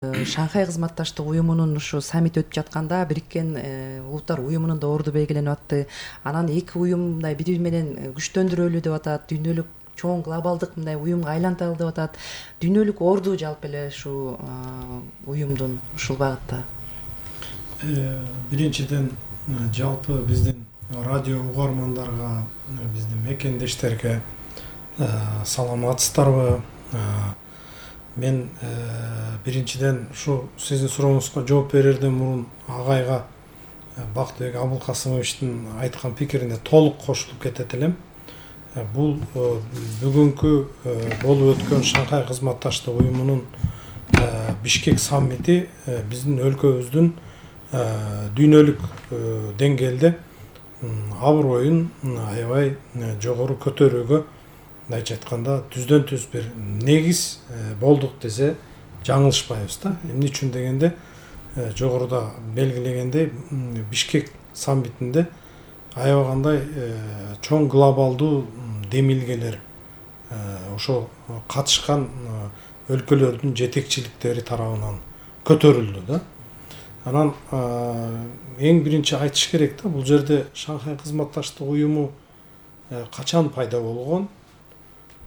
Шанхай кызматташтык уюмунун ушу саммити өтүп жатканда Бириккен Улуттар уюмунун да орду белгиленип атты. Анан эки уюм мындай бири бири менен күчтөндүрөлү деп атат. Дүйнөлүк чоң глобалдык мындай уюмга айланталы деп атат. Дүйнөлүк орду жалпы эле ушул уюмдун ушул багытта. Биринчиден жалпы биздин радио угармандарга, биздин мекендештерге саламатсыздарбы? Мен биринчиден ушу сиздин сурооңузга жооп берерден мурун агайга Бактыбек Абылкасымовичтин айткан пикирине толук кошулуп кетет элем. Бул бүгүнкү болуп өткөн Шанхай кызматташтык уюмунун Бишкек саммити биздин өлкөбүздүн дүйнөлүк деңгээлде аброюн аябай жогору көтөрүүгө, мындайча айтканда, түздөн түз бир негиз болдук десе жаңылышпайбыз да. Эмне үчүн дегенде, жогоруда белгилегендей, Бишкек саммитинде аябагандай чоң глобалдуу демилгелер, ошо катышкан өлкөлөрдүн жетекчиликтери тарабынан көтөрүлдү да. Анан эң биринчи айтыш керек да, бул жерде Шанхай кызматташтык уюму качан пайда болгон,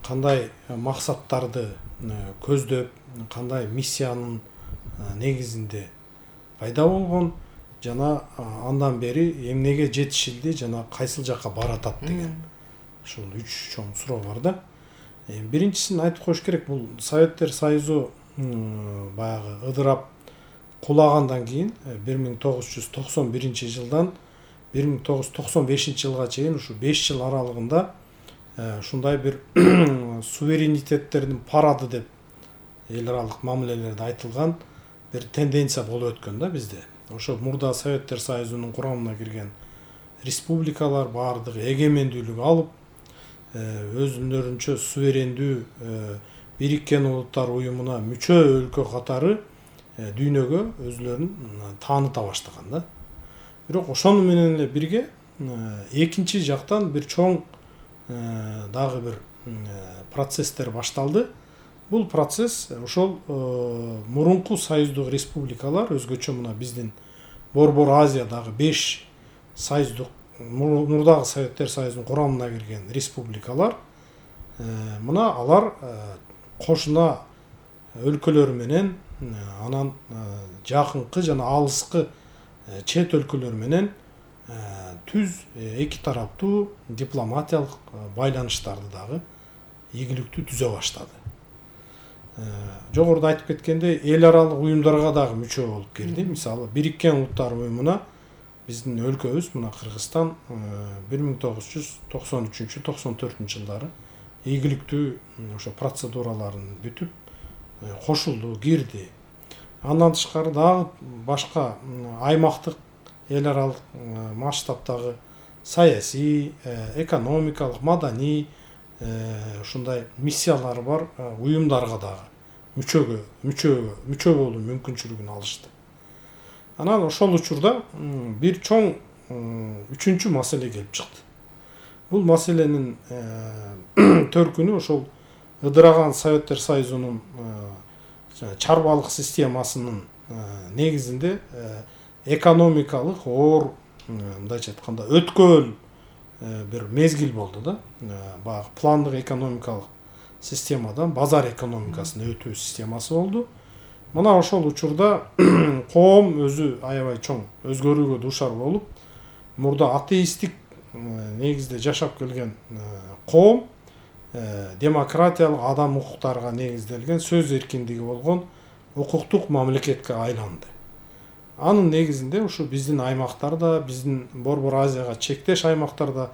кандай максаттарды көздөп, кандай миссиянын негизинде пайда болгон, жана андан бери эмнеге жетишилди жана кайсыл жакка баратат деген ушул үч чоң суроо бар да. Биринчисин айтып коюш керек, бул Советтер Союзу баягы ыдырап кулагандан кийин 1991 жылдан 1995 жылга чейин ушу 5 жыл аралыгында ушундай бир суверенитеттердин парады деп эл аралык мамилелерде айтылган бир тенденция болуп өткөн да бизде. Ошо мурда Советтер Союзунун курамына кирген республикалар баардыгы эгемендүүлүк алып, өзүлөрүнчө суверендүү Бириккен Улуттар уюмуна мүчө өлкө катары дүйнөгө өзүлөрүн тааныта баштаган да. Бирок ошону менен эле бирге экинчи жактан бир чоң дагы бир процесстер башталды. Бул процесс ошол мурунку союздук республикалар, өзгөчө мына биздин Борбор Азиядагы 5 союздук мурдагы Советтер Союзунун курамына кирген республикалар, мына алар кошуна өлкөлөр менен, анан жакынкы жана алыскы чет өлкөлөр менен түз эки тараптуу дипломатиялык байланыштарды дагы ийгиликтүү түзө баштады. Жогоруда айтып кеткендей, эл аралык уюмдарга дагы мүчө болуп кирди. Мисалы, Бириккен Улуттар уюмуна биздин өлкөбүз, мына Кыргызстан 1993-94 жылдары ийгиликтүү ошо процедураларын бүтүп кошулду, кирди. Андан тышкары дагы башка аймактык, эл аралык масштабтагы саясий, экономикалык, маданий ушундай миссиялары бар уюмдарга дагы мүчө болуу мүмкүнчүлүгүн алышты. Анан ошол учурда бир чоң үчүнчү маселе келип чыкты. Бул маселенин төркүнү ошол ыдыраган Советтер Союзунун чарбалык системасынын негизинде экономикалык оор, мындайча айтканда, өткөл бир мезгил болду да. Баягы пландык экономикалык системадан базар экономикасына өтүү системасы болду. Мына ошол учурда коом өзү аябай чоң өзгөрүүгө дуушар болуп, мурда атеисттик негизде жашап келген коом демократиялык, адам укуктарга негизделген, сөз эркиндиги болгон укуктук мамлекетке айланды. Анын негизинде ушу биздин аймактарда, биздин Борбор Азияга чектеш аймактарда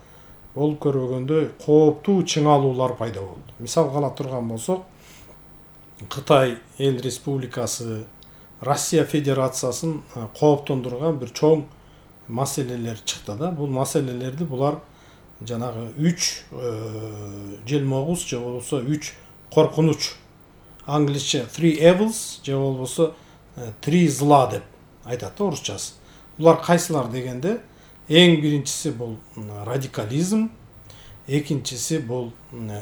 болуп көрбөгөндөй кооптуу чыңалуулар пайда болду. Мисалга ала турган болсок, Кытай эл республикасы, Россия Федерациясын кооптондурган бир чоң маселелер чыкты да. Бул маселелерди булар жанагы 3 желмогуз же болбосо 3 коркунуч, англисче 3 evils же болбосо 3 зла деп айтат да орусчасы. Булар кайсылар дегенде, эң биринчиси бул радикализм, экинчиси бул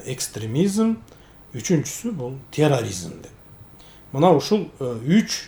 экстремизм, үчүнчүсү бул терроризм деп. мына ушул үч